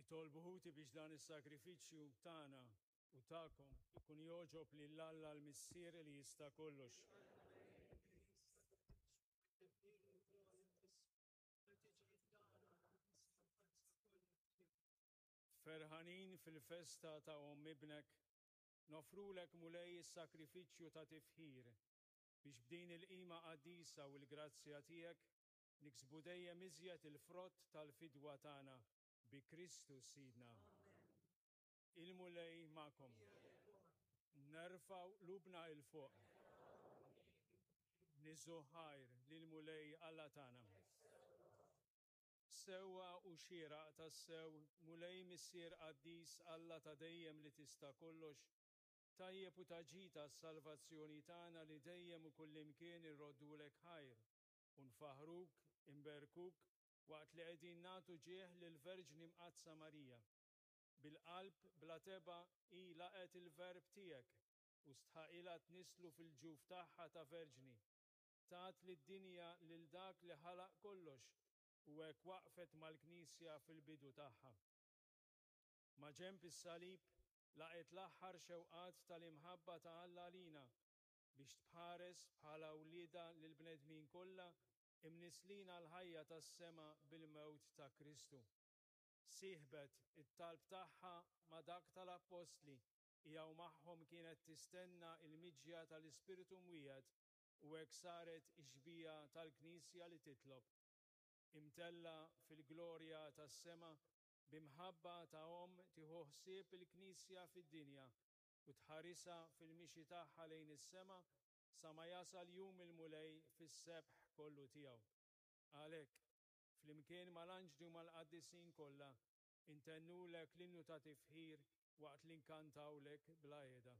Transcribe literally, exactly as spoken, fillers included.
Itolbu ħuti biex dan is-sagrifiċċju tagħna u tagħkom ikun jogħġob lil Alla l-Missier li jista' kollox. Ferħanin fil-festa ta' omm ibnek, nofrulek Mulej is-sagrifiċċju ta' tifħir biex b'din il-qima qaddisa u l-grazzja tiegħek niksbu dejjem iżjed il-frott tal-fidwa tagħna bi Kristu Sidna. Il-Mulej magħkom. Nerfgħu qlubna 'l fuq. Niżżu ħajr lill-Mulej Alla tagħna. Sewwa u xieraq tassew, Mulej Missier qaddis Alla ta' dejjem li tista' kollox, tajjeb u ta' ġid għas-salvazzjoni tagħna li dejjem u kullimkien irroddulek ħajr u nfaħruk, imberkuk, waqt li qegħdin nagħtu ġieħ lill-Verġni Mqaddsa Marija. Bil-qalb bla tebgħa hi laqgħet il-Verb tiegħek u stħaqilha tnisslu fil-ġuf tagħha ta' Verġni. Tat lid-dinja lil dak li ħalaq kollox u hekk waqfet mal-Knisja fil-bidu tagħha. Ma' ġenb is-salib laqgħet l-aħħar xewqat tal-imħabba ta' Alla għalina biex tħares bħala wliedha lill-bnedmin kollha imnislin għall-ħajja tas-sema bil-mewt ta' Kristu. Sieħbet it-talb tagħha ma' dak tal-Appostli hija u magħhom kienet tistenna il-miġja tal-Ispirtu Mwiegħed u hekk saret ix-xbieha tal-Knisja li titlob. Imtellgħa fil-glorja tas-sema b'imħabba ta' omm tieħu ħsieb il-Knisja fid-dinja u tħarisha fil-mixi tagħha lejn is-sema sa ma jasal jum il-Mulej fis-sebħ kollu tiegħu. Għalhekk, flimkien mal-anġli u mal-qaddisin kollha, intennulek l-innu ta' tifħir waqt li nkantawlek bla heda.